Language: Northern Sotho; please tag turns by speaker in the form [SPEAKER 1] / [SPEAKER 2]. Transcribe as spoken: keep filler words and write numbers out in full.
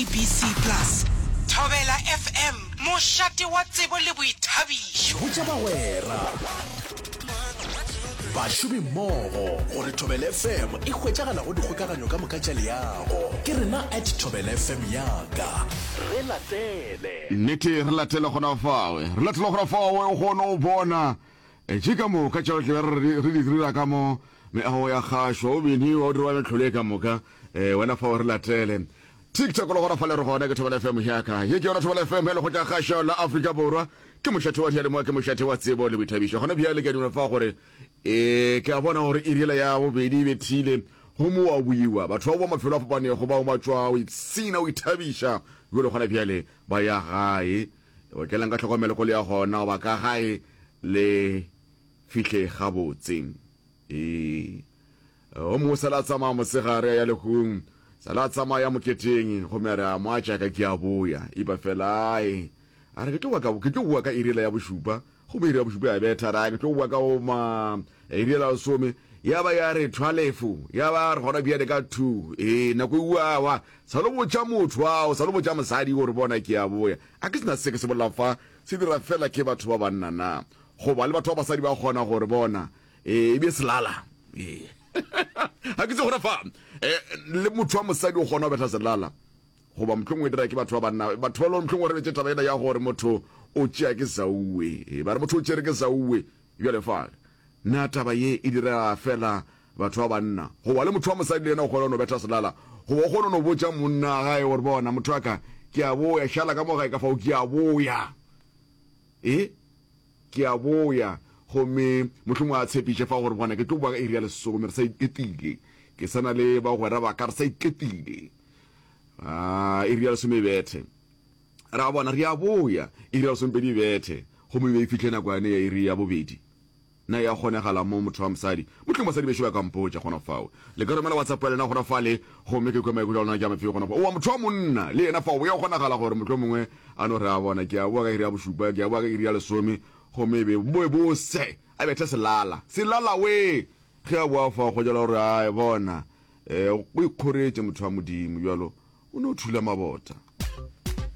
[SPEAKER 1] S A B C Plus. Thobela F M, mošate wa tsebo le boithabišo.
[SPEAKER 2] Botša bagwera, bašomimmogo gore Thobela F M e hwetšagala go dikgokaganyo ka moka tša leago. Ke rena at Thobela F M yaka. Re latele.
[SPEAKER 3] Nnete, re latele gona fawe, re latele gona fawe, o kgone go bona tše ka moka tša tle re re di dira ka mo meago ya kgašo, o biniwa o dirwa metlholo e ka moka. um wena fao re latele TikTok le gona fale re gona ke Thobela F M yaka. Ye ke yona Thobela F M ya lekgotla kgašo la Afrika Borwa, ke mošate wa diyalemoya, ke mošate wa tsebo le boithabišo. Gona bjale ke a dumela fa gore um ke a bona gore iri yela ya bobedi e bethile, gomme wa buiwa batho ba boa mafelo a fapanego, bao ba tšwa o ipshina o ithabiša jalo, gona bjale ba ya gae. Okelang ka tlhokomelo ko le ya gona goba ka gae, le fihle gabotse. Ee, o mongwe sala a tsamaya mosegare a ya lehung, sala a tsamaya moketeng, gomme a re a moatšaka ke a boya, ipa fela ae a re ke tlo boa ka ke tlo boa ka iri yela ya bošupa, gomme iri ya bošupa ya betha, a re ke tlo boa ka oma iri yela lesome, ya ba ya re twelve, ya ba re gona bjale ka two. Ee, nako e uawa sa lo botša motho ao, sa lo botša mosadi gore bona ke a boya. A ke sena se ke se bolelang fa se dira fela ke batho ba banna na, goba le batho ba basadi ba kgona gore bona ee e be selala? Ee, ga ke tse gona fa le motho wa mosadi o kgona go betha selala, goba mohlomongwe e dira ke batho ba banna, batho ba le mohlomongwe re betse taba ena ya gore motho o tšea ke sauwe, ba re motho o tšere ke sauwe. Bjale fa na taba ye e dira fela batho ba banna, goba le motho wa mosadi le yena o kgona no betha selala, goba o kgona no botša monna gae gore bona motho wa ka ke a boya, šala ka mo gae ka fao ke a boya, e ke a boya, gomme mohlomongwe a tshepiše fa gore bona ke tlo boa ka iri ya lesome, re sa iketile, ke sa na le bagwera ba ka, re sa iketile. A iri ya lesome e bethe, ra bona re a boya, iri ya lesomepedi e bethe, gomme e be e fihle nako yane ya iri ya bobedi. Na ya kgonegala mo motho wa mosadi? Mohlomongwe basadi bešo ba ka mpotša gona fao. Le ka romela WhatsApp ya lena gona fale, gomme ke kwe maikutlo a lona ke a mafeo gona fao. Oa motho wa monna le yena fao ya kgonagala gore mohlomongwe a no re a bona ke a boa ka iri ya bošupa, ke a boa ka iri ya lesome, gomme e be boe bose a bethe selala selala we ge a boa fao go jala gore a bona um o ikgoretše motho wa Modimo bjalo o no thula mabota.